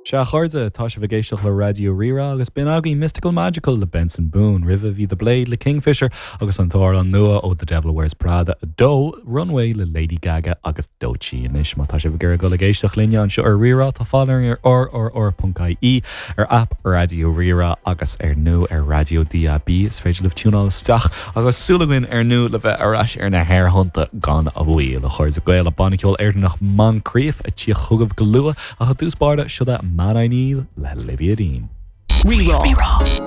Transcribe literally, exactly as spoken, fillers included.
Sea a chairde tá sibh ag éisteacht le Raidió Rí-Rá agus b'in agaibh Mystical Magical le Benson Boone, roimhe bhí The Blade le Kingfisher agus an t-amhrán nua ó The Devil Wears Prada a dó, Runway le Lady Gaga agus Doechii anois má tá sibh ag iarraidh dul ag éisteacht linne anseo ar Rí-Rá tá fáil ar rrr.ie ar app Raidió Rí-Rá agus ar nó ar Raidió DAB is féidir libh tiúnáil isteach agus súil againn ar ndóigh le bheith ar ais ar na haerthonnta gan mhoill a chairde Gael a banna ceoil Éireannach Moncrieff ag tíocht chugaibh go luath ach i dtús báire seo Man I Need le Olivia Dean. Rí-Rá.